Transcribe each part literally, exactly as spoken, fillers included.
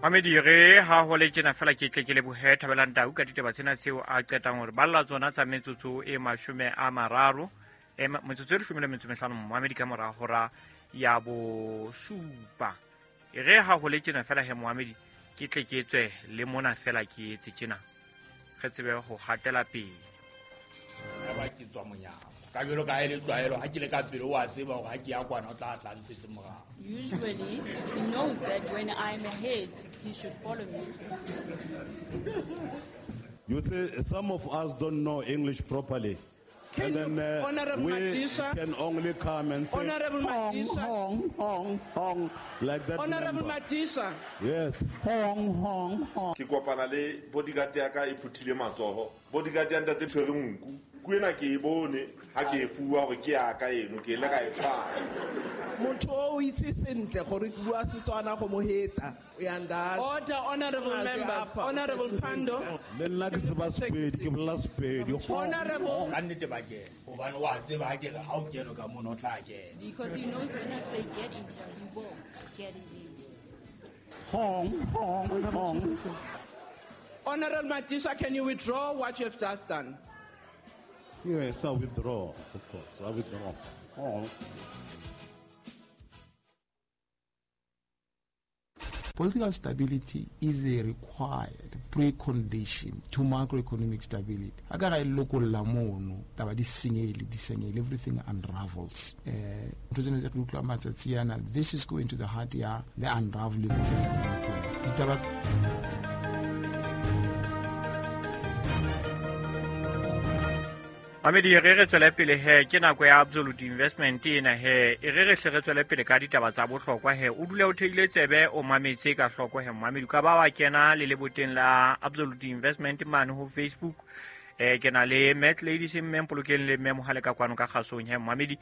Mamedi re ha ho le tjena fela ke tle ke lebohe Thabelang Tau ka ditaba tsena tseo a qetang hore balla tsona tsa metsotso e mashome a mararo e metsotso e leshome le metso mehlano Moamedi ka mora hora ya bosupa. E re ha ho le tjena fela he Moamedi ke tle ke tswe le mona fela ke etse tjena re tsebe ho hatela pele. Ba ke tswa monyako ka jwalo ka ele tlwaelo ha ke le ka pele wa tseba hore ha ke ya kwana o tla tla ntshetse morao. Usually he knows that when I'm ahead he should follow me. You see, some of us don't know English properly. Can and then uh, Honorable we Madisha, can only come and say Honorable hong, Madisha, hong, hong, hong, like that. Honorable member. Madisha. Yes. Hong, hong, hong. Ke kopana le bodyguard ya ka e phuthile matsoho. Bodyguard ya ntate tshwere nku. Ku ena ke e bone ha ke e fuwa hore ke ya ka eno ke ile ka e tshwara. Motho o itse sentle gore ke bua Setswana go mo heta. Order, honorable members. Honorable Pando. Le nna ke tseba Sepedi, ke bolela Sepedi. Honorable. Ka nnete ba kena. Hobane wa tseba ha ke re ha o kene ka mono o tla kena. Because he knows when I say get in here, he won't get in. Hong, hong, hong. Honorable Madisha, can you withdraw what you have just done? Yes, I withdraw, of course. I withdraw. Hong. Political stability is a required precondition to macroeconomic stability. Akara lokolla mono taba di senyehile di senyehile, everything unravels. Eh this is going to the heart ya the unraveling of the economic plan. Ditaba Mamedi re re tswele pele he ke nako ya Absolute Investment ena he e re re hle re tswele pele ka ditaba tsa bohlokwa he o dule o theile tsebe o mametse ka hloko he Mamedi ka ba wa kena le leboteng la Absolute Investment mane ho Facebook eh ke na le Matt Ladies mme Mpolokeng le mme Mohale ka kwano ka kgasong he Mamedi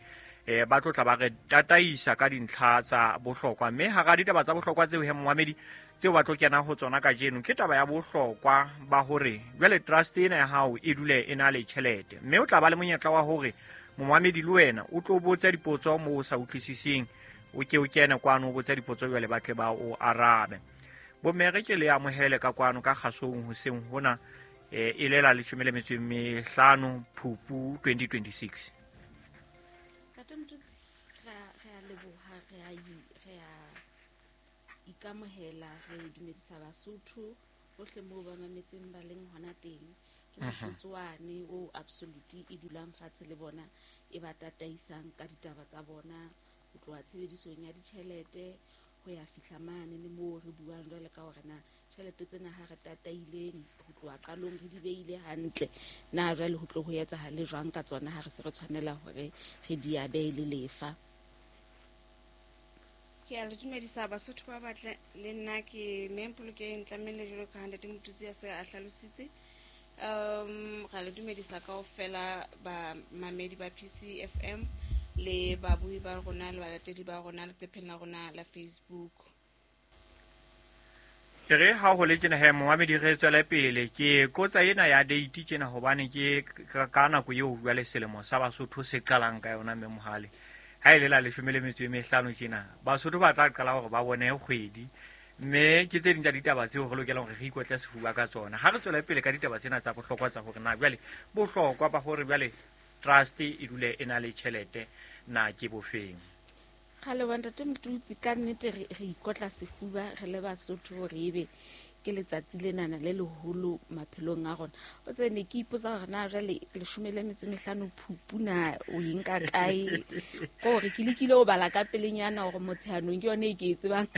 eh ba tlotla ba re tataisa ka dintlha tsa bohlokwa mme hara ditaba tsa bohlokwa tseo he Mamedi tseo ba tlo kena ho tsona kajeno ke taba ya bohlokwa ba hore jwale trust ena ya hao e dule e na le tjhelete mme o tla ba le monyetla wa hore momamedi le wena o tlo botsa dipotso moo o sa utlwisising o ke o kene kwano o botsa dipotso jwale ba tle ba o arabe. Bomme re ke le amohele ka kwano ka kgasong hoseng hona e lela leshome le metso e mehlano Phupu twenty twenty-six. Ntate Motutsi, re a leboha, re a re a ikamohela, re dumedisa Basotho bohle moo ba mametseng ba leng hona teng. Ke motsotswane o Absolute e dulang fatshe le bona e ba tataisang ka ditaba tsa bona ho tloha tshebedisong ya ditjhelete ho ya fihla mane le moo re buang jwale ka hore na tjhelete tsena ha re tataileng ho tloha qalong re di beile hantle na jwale ho tlo ho etsahale jwang ka tsona ha re se re tshwanela hore re di abe le lefa. Ke a le dumedisa Basotho ba batle le nna ke Mpolokeng Tlamehile jwalo ka ha ntate Motutsi a se a hlalositse. Um ra le dumedisa kaofela ba mamedi ba P C F M le babuhi ba rona le balatedi ba rona leqepheng la rona la Facebook. Ke re ha ho le tjena he Moamedi re tswele pele ke kotsa ena ya date tjena hobane ke ka nako eo jwale selemo sa Basotho se qalang ka yona mme Mohale ha ile la leshome le metso e mehlano tjena Basotho ba tla qala hore ba bone kgwedi mme ke tse ding tsa ditaba tseo re lokelang hore re ikotle sefuba ka tsona. Ha re tswele pele ka ditaba tsena tsa bohlokwa tsa hore na jwale bohlokwa ba hore jwale trust e dule e na le tjhelete na ke bofeng. Kgale wa ntate Motutsi, ka nnete re ikotla sefuba re le Basotho hore ebe ke letsatsi lenana le leholo maphelong a rona. O tse ne ke ipotsa hore na jwale leshome le metso mehlano Phupu na o e nka kae, kore ke lekile ho bala ka pelenyana hore motsheanong ke yone e ke e tsebang.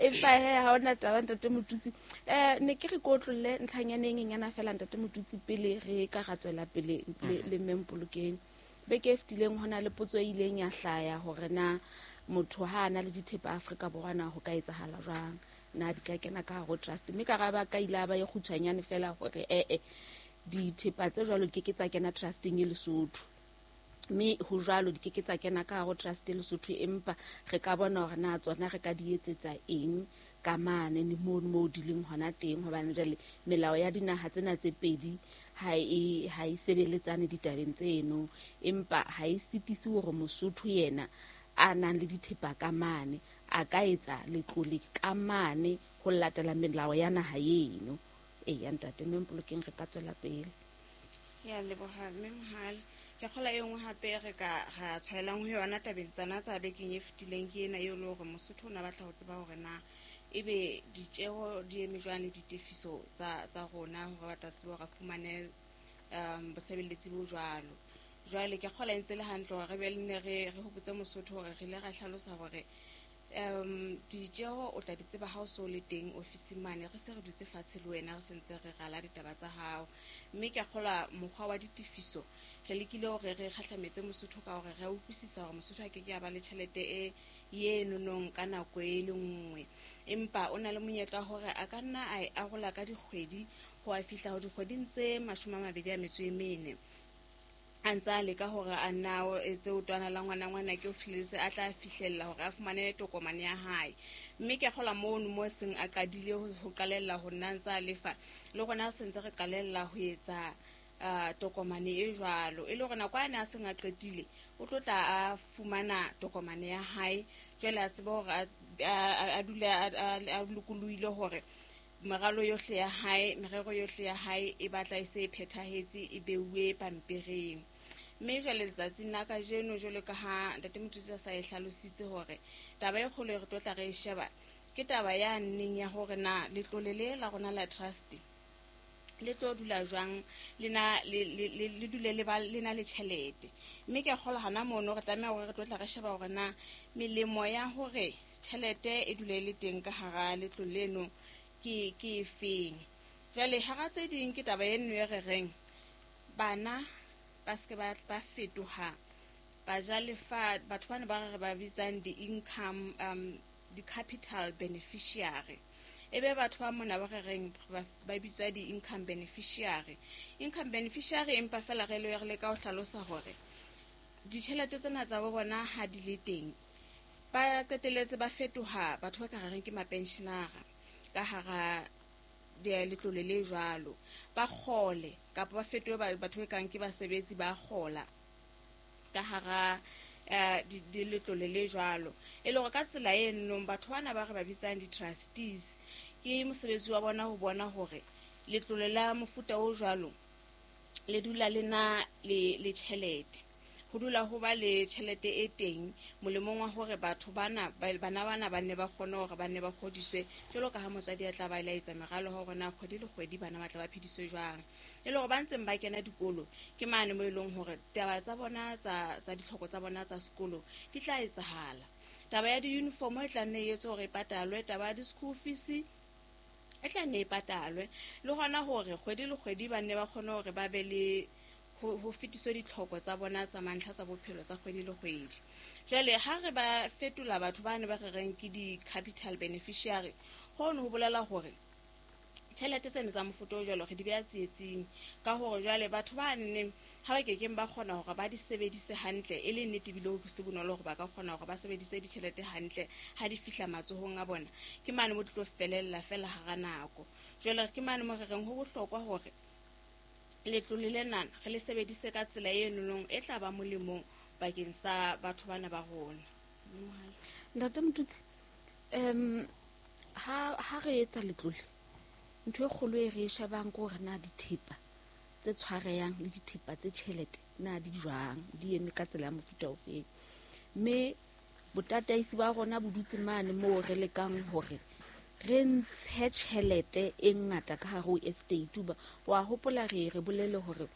Empa he ha hona taba ntate Motutsi. Eh ne ke re kotlolle ntlhanyaneng e nyana fela ntate Motutsi pele re ka ra tswela pele le mme Mpolokeng. Beke e fetileng hona le potso e ileng ya hlaya hore na motho ha ana le dithepa Afrika Borwa na ho ka etsahala jwang, na di ka kena ka hare trust. Mme ka raba ka ile ba ye kgutshwanyane fela hore eh eh dithepa tse jwalo di ke ke tsa kena trusteng e Lesotho, mme ho jwalo di ke ke tsa kena ka hare trust e Lesotho, empa re ka bona hore na tsona re ka di etsetsa eng ka mane le mono moo di leng hona teng, hobane jwale melao ya dinaha tsena tse pedi ha e ha e sebeletsane ditabeng tseno, empa ha e sitise hore Mosotho yena a nang le dithepa ka mane a ka etsa letlole ka mane ho latela melao ya naha eno. E ya ntate mme Mpolokeng re ka tswela pele. Ke a leboha mme Mohale. Ke kgola e nngwe hape re ka ra tshwaelang ho yona tabeng tsena tsa bekeng e fetileng ke ena eo le hore Mosotho o ne a batla ho tseba hore na ebe ditjeho di eme jwang le ditefiso tsa tsa rona hore ba tla tsebe hore a fumane um bosebeletsi bo jwalo. Jwale ke kgola e ntse le hantle hore re be le ne re re hopotse Mosotho hore re ile ra hlalosa hore um ditjeho o tla di tseba ha o so le teng ofising mane, re se re dutse fatshe le wena re sentse re rala ditaba tsa hao. Mme ke a kgolwa mokgwa wa ditefiso re lekile hore re kgahlametse Mosotho ka hore re a utlwisisa hore Mosotho a ke ke a ba le tjhelete e ye nonong ka nako e le nngwe, empa o na le monyetla wa hore a ka nna a e arola ka dikgwedi ho a fihla ho dikgweding tse mashome a mabedi a metso e mene, a ntse a leka hore a nna o etse o twana la ngwana ngwana ke o fihlelletse a tla fihlella hore a fumane tokomane ya hae. Mme ke a kgolwa mono mo seng a qadile ho, ho qalella ho nna ntse a lefa, le rona se ntse re qalella ho etsa uh, tokomane e jwalo, e le hore nako a ne a seng a qetile o tlo tla a fumana tokomane ya hae. Jwale a tsebe hore a, a, a dule a, a, a lokolohile hore meralo yohle ya hae, merero yohle ya hae e batla e se e phethahetse, e beuwe pampiring. Mme jwale letsatsing la kajeno, jwalo ka ha ntate Motutsi a sa e hlalositse hore taba e kgolo e re tlo tla re e sheba ke taba ya nneng ya hore na letlole le la rona la trust le tlo dula jwang, le na le le le dule le ba le na le tjhelete. Mme ke a kgolwa hana mono re tlameha hore re tlo tla re sheba hore na melemo ya hore tjhelete e dule e le teng ka hara letlole leno ke ke efeng. Jwale hara tse ding ke taba eno e re reng bana ba se ke ba ba fetoha bajalefa, batho bana ba re ba bitsang di-income um di-capital beneficiary. Ebe batho ba mona ba re reng ba ba bitswa di-income beneficiary. Income beneficiary empa fela re le re leka ho hlalosa hore ditjhelete tsena tsa bo bona ha di le teng ba qetelletse ba fetoha batho ba ka reng ke mapensionara ka hara letlole le jwalo, ba kgole kapa ba fetohe batho ba kang ke basebetsi ba kgola ka hara eh di letlole le jwalo. E le hore ka tsela e nnong batho bana ba re ba bitsang di-trustees ke mosebetsi wa bona ho bona hore letlole la mofuta o jwalo le dula le na le le tjhelete, ho dula ho ba le tjhelete e teng molemong wa hore batho bana bana bana ba nne ba kgone hore ba nne ba kgodiswe jwalo ka ha motswadi a tla ba laetsa meralo hore na kgwedi le kgwedi bana ba tla ba phediswe jwang. E le hore ba ntseng ba kena dikolo ke mane mo e leng hore taba tsa bona tsa tsa ditlhoko tsa bona tsa sekolo di tla etsahala. Taba ya di-uniform e tla nne e etse hore e patalwe, taba ya di-school fees e tla nne e patalwe, le hona hore kgwedi le kgwedi ba nne ba kgone hore ba be le ho fetiswe ditlhoko tsa bona tsa mantlha tsa bophelo tsa kgwedi le kgwedi. Jwale ha re ba fetola batho ba ne ba re reng ke di-capital beneficiary, hono ho bolela hore tjhelete tseno tsa mofuta o jwalo re di beha tsietsing, ka hore jwale batho ba nne ha ba kekeng ba kgona hore ba di sebedise hantle, e le nnete ebile ho se bonolo hore ba ka kgona hore ba sebedise ditjhelete hantle ha di fihla matsohong a bona, ke mane mo di tlo felella fela hara nako. Jwale ke mane mo re reng ho bohlokwa hore letlole lena re le sebedise ka tsela e nonong e tla ba molemong bakeng sa batho bana ba rona. Ntate Motutsi, um ha ha re etsa letlole ntho e kgolo e re e shebang ke hore na dithepa tse tshwarehang le dithepa tse tjhelete na di jwang, di eme ka tsela ya mofuta ofeng. Mme botataisi ba rona bo dutse mane moo re lekang hore re ntshe tjhelete e ngata ka hare ho estate. Ba wa hopola re re bolele hore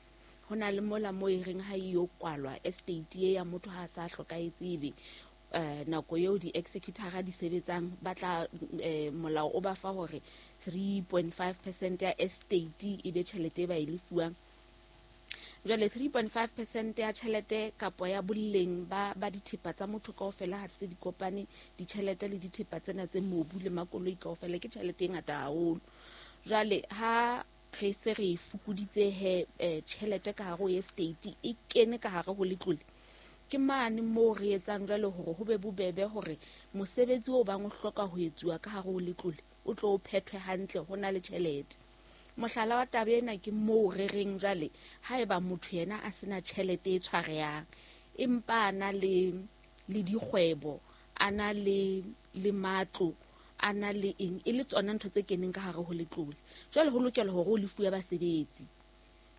ho na le mola mo e reng ha e yo kwalwa estate e ya motho ha sa hlokahetse ebe eh nako eo di-executor di sebetsang ba tla eh, molao o ba fa hore three point five percent ya estate e be tjhelete e ba e lefuwang. Jwale three point five percent ya tjhelete kapa ya boleng ba ba dithepa tsa motho kaofela ha se di kopane ditjhelete le dithepa tsena tse mobu le makoloi kaofela ke tjhelete e ngata haholo. Jwale ha re se re fokoditse he tjhelete ka hare ho estate e kene ka hare ho letlole, ke mane moo re etsang jwale hore ho be bobebe hore mosebetsi o bang o hloka ho etsuwa ka hare ho letlole o tlo o phethwe hantle ho na le tjhelete. Mohlala wa taba ena ke moo re reng jwale haeba motho yena a sena tjhelete e tshwarehang empa a na le le dikgwebo, a na le le matlo, a na le eng, e le tsona ntho tse keneng ka hare ho letlole. Jwale ho lokela hore o lefuwe basebetsi.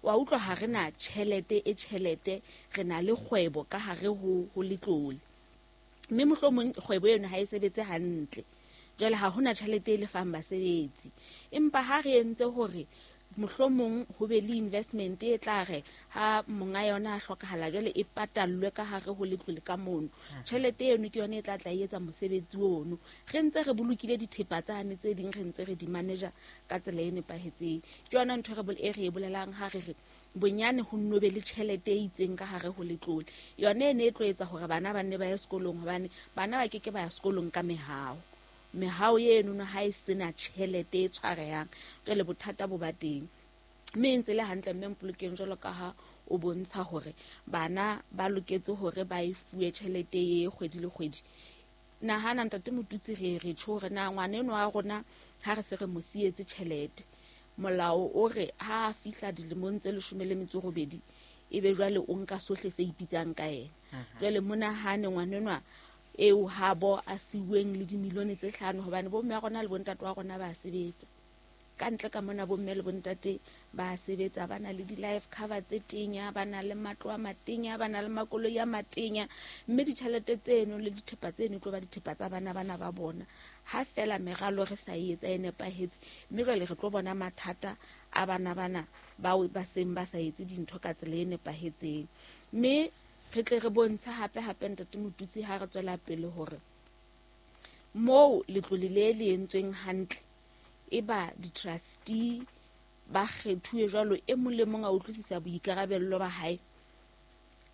Wa utlwa ha re na tjhelete e tjhelete, re na le kgwebo ka hare ho ho letlole. Mme mohlomong kgwebo eno ha e sebetse hantle. Jwale ha hona tjhelete e lefang basebetsi. Empa ha re entse hore mohlomong ho be le investment e tla re ha monga yona a hlokahala jwale e patallwe ka hare ho letlole ka mono. Tjhelete eno ke yona e tla tla etsa mosebetsi ono. Re ntse re bolokile dithepa tsane tse ding, re ntse re di manager ka tsela e nepahetseng. Ke yona ntho re e re e bolelang ha re re bonyane ho nno be le tjhelete e itseng ka hare ho letlole. Yona e ne e tlo etsa hore bana ba nne ba ye sekolong, hobane bana ba keke ba ya sekolong ka mehao. Mehao eno ha e sena tjhelete e tshwarehang, jwale bothata bo ba teng. Mme e ntse le hantle mme Mpolokeng jwalo ka ha o bontsha hore bana ba loketse hore ba e fuwe tjhelete e kgwedi le kgwedi. Nahana ntate Motutsi, re re tjho hore na ngwana eno wa rona ha re se re mo sietse tjhelete, molao o re ha a fihla dilemong tse leshome le metso robedi ebe jwale o nka sohle se ipitsang ka yena. Jwale monahane ngwana enwa eo habo a siuweng le dimilione tse hlano, hobane bomme ba rona le bontate wa rona ba sebetsa. Ka ntle ka mona bomme le bontate ba sebetsa, ba na le di-life cover tse tenya, ba na le matlo a matenya, ba na le makoloi a matenya, mme ditjhelete tseno le dithepa tseno e tlo ba dithepa tsa bana bana ba bona. Ha fela meralo re sa e etsa e nepahetse, mme jwale re tlo bona mathata a bana bana bao ba seng ba sa etse dintho ka tsela e nepahetseng. Mme re tle re bontshe hape hape ntate Motutsi ha re tswela pele hore moo letlole le le entsweng hantle e ba di-trustee ba kgethuwe jwalo, e mong le mong a utlwisisa boikarabello ba hae.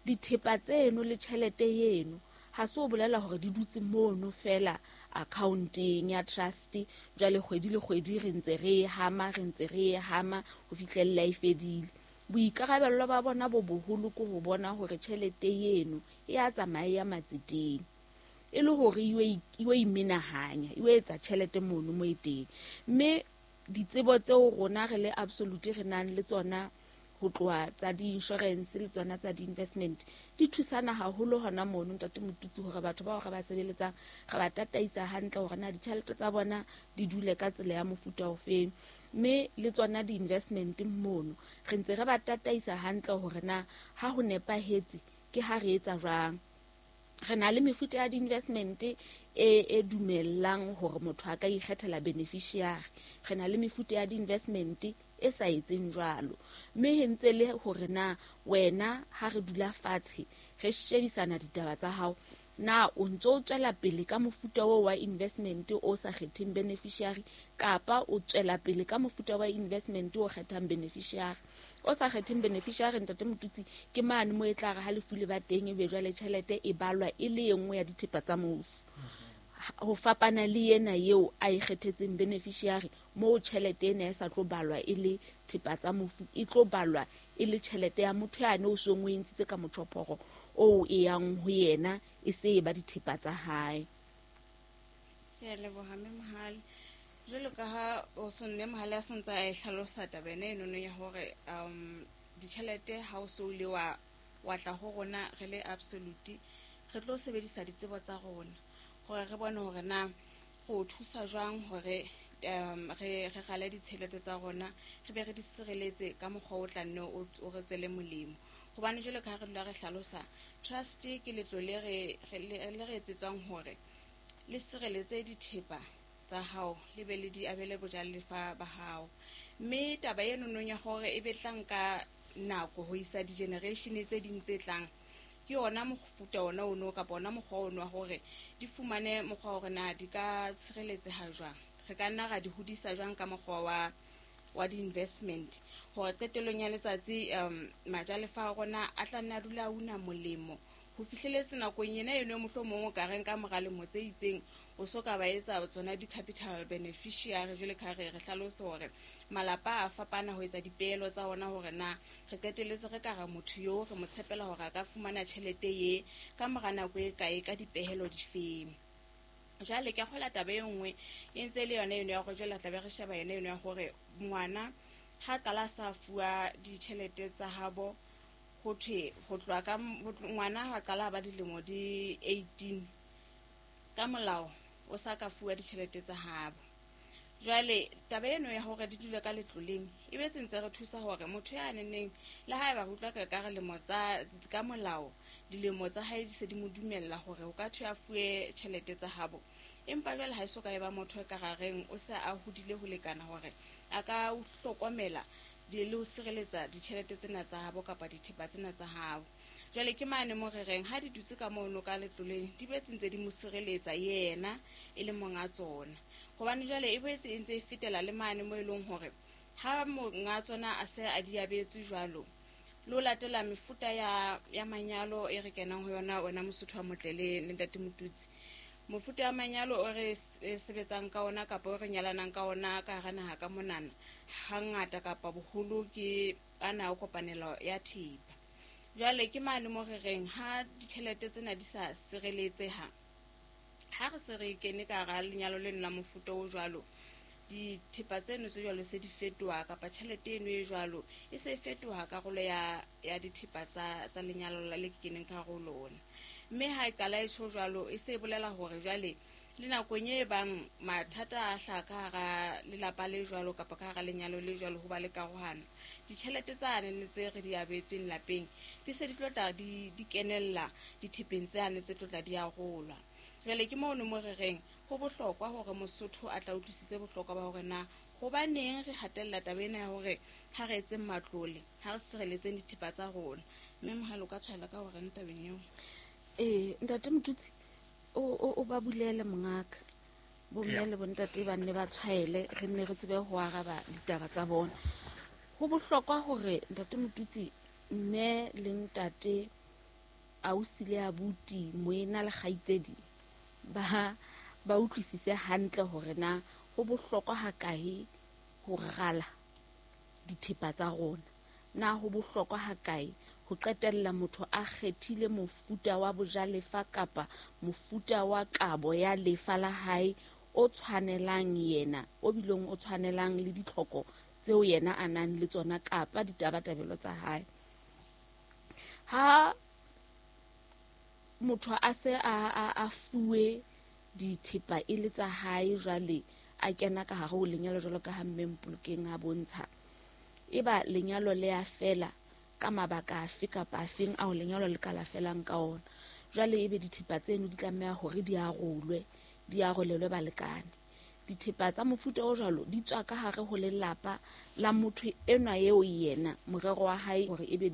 Dithepa tseno le tjhelete eno ha se o bolela hore di dutse mono fela accounteng ya trust, jwale kgwedi le kgwedi re ntse re e hama, re ntse re e hama ho fihlella e fedile. Boikarabello ba bona bo boholo ke ho bona hore tjhelete eno e a tsamaya matseteng, e le hore e iwe imenahanya, e etsa tjhelete mono mo e teng. Mme ditsebo tseo rona re le Absolute re nang le tsona ho tloha tsa di-insurance le tsona tsa di-investment di thusana haholo hona mono ntate Motutsi, hore batho bao re ba sebeletsang re ba tataisa hantle hore na ditjhelete tsa bona di dule ka tsela ya mofuta ofeng. Mme le tsona di-investment mono re ntse re ba tataisa hantle hore na ha ho nepahetse ke ha re etsa jwang. Re na le mefuta ya di-investment e e dumellang hore motho a ka ikgethela beneficiary. Re na le mefuta ya di-investment e sa etseng jwalo. Mme he ntse le hore na wena ha re dula fatshe re shebisana ditaba tsa hao, na o ntso o tswela pele ka mofuta oo wa investment o sa kgetheng beneficiary, kapa o tswela pele ka mofuta wa investment o kgethang beneficiary. O sa kgetheng beneficiary ntate Motutsi ke mane mo e tla re ha lefu le ba teng ebe jwale tjhelete e balwa e le e nngwe ya dithepa tsa mofu. Ho fapana le ena eo a e kgethetseng beneficiary, moo tjhelete ena e sa tlo balwa e le thepa tsa mofu, e tlo balwa e le tjhelete ya motho yane o seng o e ntshitse ka motjhophoro oo e yang ho yena, e se e ba dithepa tsa hae. Ke a leboha mme Mohale. Jwalo ka ha o so mme Mohale a santse a e hlalosa taba ena enono ya hore um ditjhelete ha o so ile wa wa tla ho rona re le Absolute, re tlo sebedisa ditsebo tsa rona hore re bone hore na go thusa jwang hore um re re gale ditjhelete tsa rona, re be re di sireletse ka mokgwa o tla nne o re tswele molemo. Hobane jwalo ka ha re dula re hlalosa, trust ke letlole re le re etsetswang hore le sireletse dithepa tsa hao le be le di abele bojalefa ba hao. Mme taba eno nong ya hore e be tla nka nako ho isa di-generation tse ding tse tlang, ke yona mofuta ona ono kapa ona mokgwa ono wa hore di fumane mokgwa hore na di ka tshireletseha jwang, re ka nna ra di hodisa jwang ka mokgwa wa wa di-investment, hore qetellong ya letsatsi um majalefa a rona a tla nna dula a una molemo ho fihleletse nakong ena eno mohlomong o ka reng ka mora lemo tse itseng o so ka ba etsa tsona di-capital beneficiary. Jwale ka re re hlalose hore malapa a fapana ho etsa dipeelo tsa ona hore na re qetelletse re ka ra motho yo re mo tshepela hore a ka fumana tjhelete ye ka mora nako e kae ka dipehelo difeng. Jwale ke kgola taba e nngwe e ntse le yona eno ya hore jwale tla be re sheba yona eno ya hore ngwana ha qala sa fuwa ditjhelete tsa habo Ho thwe ho tloha ka ngwana ha qala ba dilemo di eighteen ka molao o sa ka fuwa ditjhelete tsa habo. Jwale taba eno ya hore di dule ka letloleng e be sentse re thusa hore motho ya neneng le haeba re utlwa ka ka re lemo tsa ka molao dilemo tsa hae di se di mo dumella hore o ka thwe a fuwe tjhelete tsa habo, empa jwale ha e so ka e ba motho e ka rareng o se a hodile ho lekana hore a ka o hlokomela di le ho sireletsa ditjhelete tsena tsa habo kapa dithepa tsena tsa habo. Jwale ke mane mo re reng ha di dutse ka mono ka letloleng di betse ntse di mo sireletsa yena e le monga tsona, hobane jwale e boetse e ntse e fetela le mane mo e leng hore ha monga tsona a se a di abetse jwalo lo latela mefuta ya ya manyalo e re kenang ho yona wena Mosotho wa motle le ntate Motutsi. Mofuta ya manyalo o re sebetsang ka ona kapa o re nyalanang ka ona ka hara naha ka monana hangata kapa boholo ke ana o kopanelo ya thepa. Jwale ke mane mo re reng ha ditjhelete tsena di sa sireletseha, ha re se re kene ka hara lenyalo leno la mofuta o jwalo, dithepa tseno tse jwalo se di fetoha kapa tjhelete eno e jwalo e se e fetoha karolo ya ya dithepa tsa tsa lenyalo la le keneng ka hare ho lona. Mme ha e qala e tjho jwalo e se e bolela hore jwale le nakong e bang mathata a hlaha ka hara lelapa le jwalo kapa ka hara lenyalo le jwalo ho ba le karohano, ditjhelete tsane ne tse re di abetsweng lapeng di se di tlo tla di di kenella dithepeng tsane tse tlo tla di arolwa. Jwale ke mono mo re reng ho bohlokwa hore Mosotho a tla utlwisise bohlokwa ba hore na hobaneng re hatella taba ena ya hore ha re etseng matlole, ha re sireletseng dithepa tsa rona. Mme Mohale o ka tshwaela ka hore tabeng eo. Eh ntate Motutsi o o o ba bulele mongaka bomme le bontate ba nne ba tshwaele re nne re tsebe ho araba ditaba tsa bona. Ho bohlokwa hore ntate Motutsi mme le ntate ausi le abuti moena le kgaitsedi ba ba utlwisise hantle hore na ho bohlokwa hakae ho rala dithepa tsa rona, na ho bohlokwa hakae ho qetella motho a kgethile mofuta wa bojalefa kapa mofuta wa kabo ya lefa la hae o tshwanelang yena, o bileng o tshwanelang le ditlhoko tseo yena a nang le tsona kapa ditabatabelo tsa hae. Ha motho a se a a a fuwe dithepa e le tsa hae jwale a kena ka hare ho lenyalo jwalo ka ha mme Mpolokeng a bontsha, eba lenyalo le a fela ka mabaka afe kapa afeng ao lenyalo le ka la felang ka ona, jwale ebe dithepa tseno di tlameha hore di arolwe, di arolelwe balekane. Dithepa tsa mofuta o jwalo di tswa ka hare ho lelapa la motho enwa eo yena morero wa hae hore ebe di